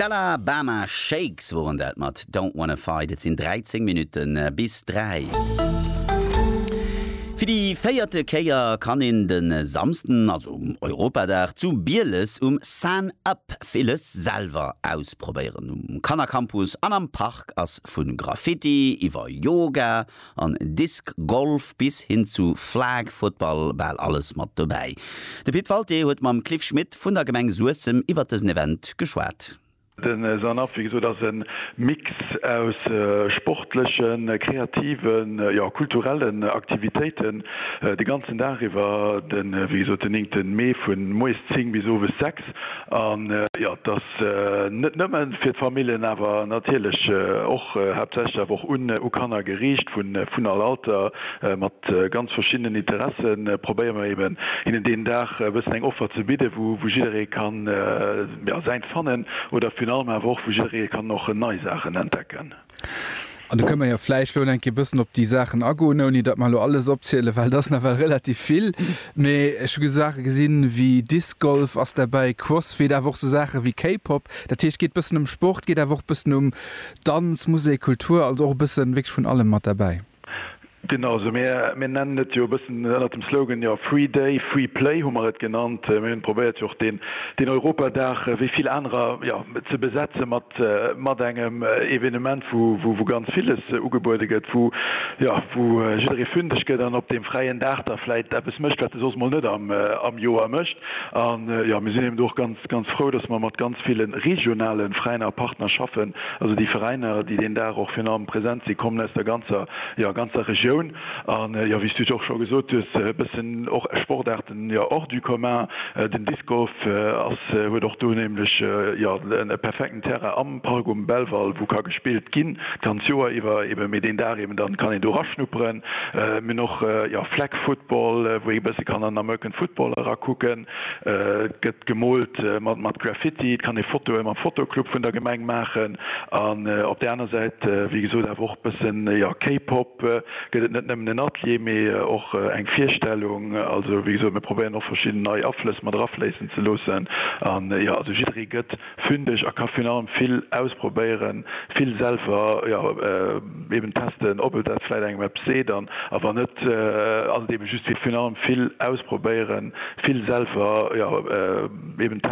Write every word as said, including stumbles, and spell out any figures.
D'Alabama Shakes woren dat mat Don't Wanna Fight. Et sinn dräizéng Minutten bis dräi. Fir déi véierte Kéier kann een de Samsden, also um Europadag, zu Bieles um San Up villes selwer ausprobéieren. Um Kannercampus an am Park ass vu Graffiti iwwer Yoga an Disc Golf bis hin zu Flag Football bal alles mat dobäi. De Pit Walté huet mam Cliff Schmit vun der Gemeng Suessem iwwer dësen Event geschwat. Den San Up, wéi gesot, ass e Mix aus sportlechen, kreativen, jo kulturellen Aktivitéiten de ganzen Dag iwwer, den, wéi gesot, den néngte Mee vu moies zéng bis owes sechs. An jo, et ass net nëmme fir d'Familljen, awer natierlech och haaptsächlech awer och un u Kanner geriicht, vun vun all Alter, mat ganz verschiddenen Interessen probéiere mer eben hinnen deen Dag e bëssen eng Offer ze bidden, wou wou jidderee kann jo säint fannen oder virun allem awer och wou jidderee kann och nei Saachen entdecken. An do kënne mer jo vläicht lo eng Kéier bëssen op déi Saachen agoen, ouni datt mer lo alles opzielen, well dat ass nawell relativ vill. Mee ech hu Saache gesinn wéi Disc Golf ass derbäi, Crossfit, awer och sou Saache wéi K-Pop. Dat heescht, geet bëssen ëm Sport, geet awer och bëssen ëm Danz, Musek, Kultur, also och e bëssen wierklech vun allem mat derbäi. Genau, also mir, mir nennen et jo e bëssen ënnert dem Slogan jo Free Day, Free Play hu mer et genannt. Mir hunn probéiert jo och den, den Europadag wéi vill anerer jo, ze besetze mat, mat engem Evenement, wou, wou, wou ganz villes ugebuede gëtt, wou, jo, wou jidderee fündeg gëtt an op deem fräien Dag da vläit eppes mécht, wat e soss mol net am, am Joer mécht. An jo, mir sinn eben do och ganz, ganz frou, dass mer mat ganz ville regionale Veräiner a Partner schaffen. Also déi Veräiner, déi deen Dag och virun allem present sinn, kommen aus der ganzer, jo, ganzer Regioun. An jo, wéi s du et och scho gesot hues, e bëssen och Sportaarten jo hors du commun. Den Disc Golf ass, huet och do nämlech jo e perfekten Terrain am Park um Belval, wou ka gespillt ginn d'ganz Joer iwwer eben, mee deen Dag eben dann kann een do eraschnupperen. Mir hunn och jo Flag Football, wou ee bësse kann an American Football erakucken. Et gëtt gemoolt mat mat Graffiti, et kann ee Fotoe mam Fotoclub vun der Gemeng maachen. An op där aner Säit, wéi gesot, awer och bëssen jo K-Pop, gëtt et net nëmmen en Atelier, mee och eng Virstellung. Also wéi gesot, mir probéieren och verschidden nei Aflëss mat erafléissen ze loossen. An jo, also jidderee gëtt fündeg a ka virun allem vill ausprobéieren, vill selwer jo eben testen, ob et dat vläit engem eppes seet an a wann net, ass et eben just fir virun allem vill ausprobéieren, vill selwer jo eben testen.